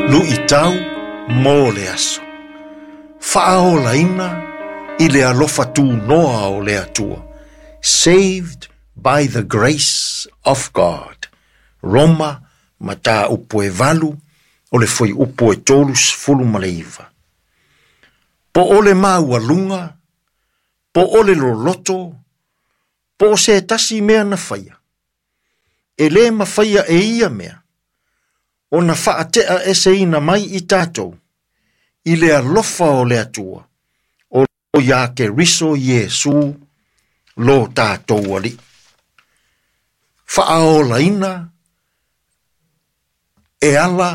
Luʻitau mo le aso. Faaolaina i le alofa tunoa o le Atua. Saved by the grace of God. Roma mataupu e 8 o le fuaiupu e 39. Po o le maualuga, po o le loloto, po o se tasi mea na faia. E lē mafaia e ia mea, ona faatea eseina mai i tatou, i le alofa o le Atua, o iā Keriso Iesu lo tatou Alii. Faaolaina e ala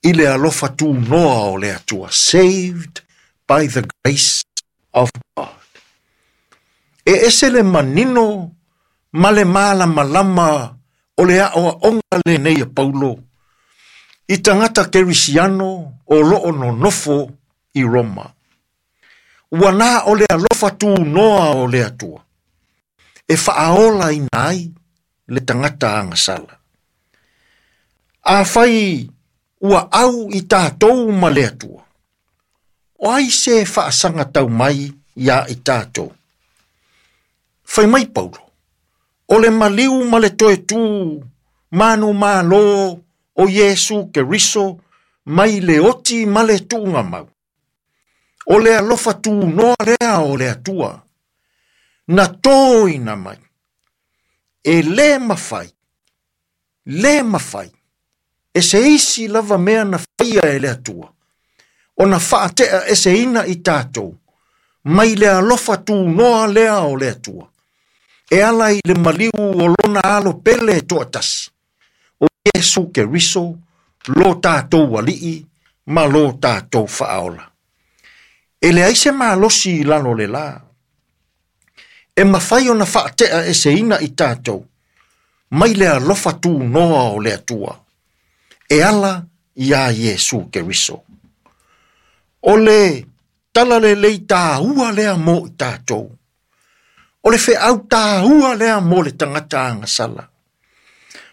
i le alofa tunoa o le Atua. Saved by the grace of God. E ese le manino ma le malamalama o le aoaoga lenei a Paulo i tagata kerisiano o loo nonofo i Roma. Ua na o le alofa tunoa o le Atua e faaolaina ai le tagata agasala. Afai ua au i tatou ma le Atua, o ai se faasagatau mai iā i tatou? Fai mai Paulo, o le maliu ma le toe tū manumalo o Iesu Keriso mai le oti ma le tuugamau. O le alofa tunoa lea o le Atua, na toina mai, e lē mafai, lē mafai, e se isi lava mea na faia e le Atua, ona faatea eseina i tatou, mai le alofa tunoa lea o le Atua, e ala i le maliu o lona alo pele e toatasi, o Iesu Keriso, lo tatou Alii ma lo tatou Faaola. E leai se malosi i lalo o le la, e mafai ona faatea eseina i tatou, mai le alofa tunoa o le Atua, e ala iā Iesu Keriso. O le tala lelei tāua lea mo i tatou. O le feau tāua lea mo le tagata agasala.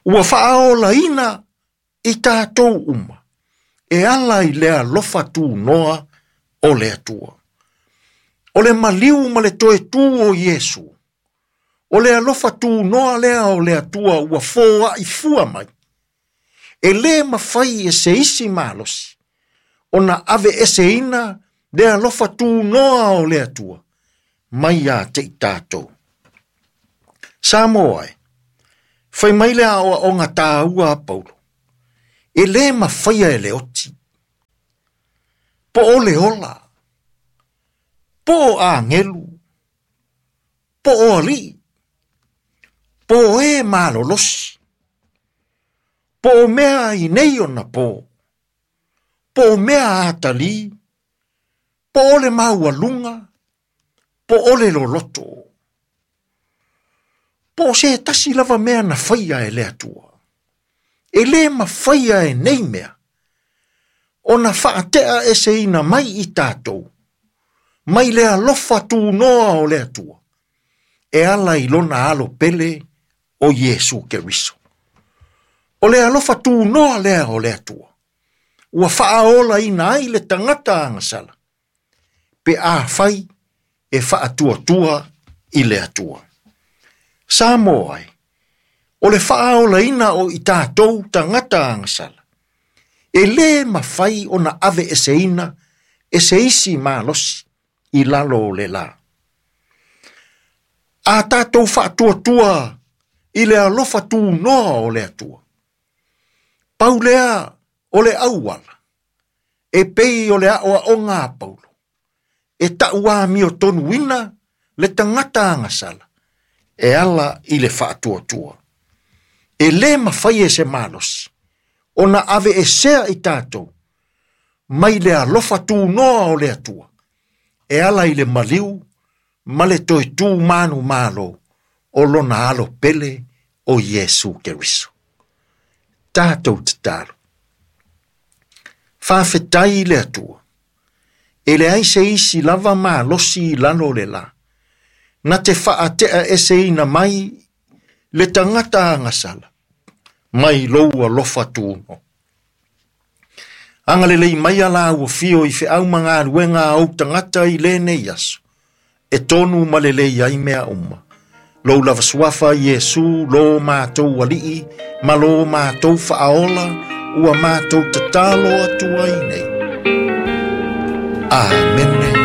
Ua faaolaina i tatou uma, e ala i le alofa tunoa o le Atua. O le maliu ma le toe tū o Iesu, o le alofa tunoa lea o le Atua ua foai fua mai, e lē mafai e se isi malosi, ona ave eseina le alofa tunoa o le Atua, mai ia te i tatou. Samoa e, fai mai le aoaoga tāua a Paulo, e lē mafaia e le oti, po o le ola, po o agelu, po o alii, po o e malolosi, po o mea i nei ona po, po o mea atalī, po o le maualuga, po o le loloto, po o se tasi lava mea na faia e le Atua. E lē mafaia e nei mea, ona faatea eseina mai i tatou, mai le alofa tunoa o le Atua, e ala i lona alo pele o Iesu Keriso. O le alofa tunoa lea o le Atua, ua faaolaina ai le tagata agasala, pe afai e faatuatua i le Atua. Samoa e, o le faaolaina o i tatou tagata agasala, e lē mafai ona ave eseina e se isi malosi i lalo o le la. A tatou faatuatua i le alofa tunoa o le Atua, pau lea o le auala, e pei o le aoaoga a Paulo, e tauamiotonuina le tagata agasala, e ala i le faatuatua. E lē mafai e se malosi, ona ave esea i tatou, mai le alofa tunoa o le Atua, e ala i le maliu ma le toe tū manumalo o lona alo pele o Iesu Keriso. Tatou tatalo. Faafetai i le Atua, e leai se isi lava malosi i lalo o le la, na te faatea eseina mai le tagata agasala, mai lou alofa tuno. Agalelei mai a la ua fio i feau ma galuega a ou tagata i lenei aso, e tonu ma lelei ai mea uma. Lou lava suafa Iesu lo mātou alii, ma lo mātou faaola, ua mātou tatalo atu ai nei. Amene.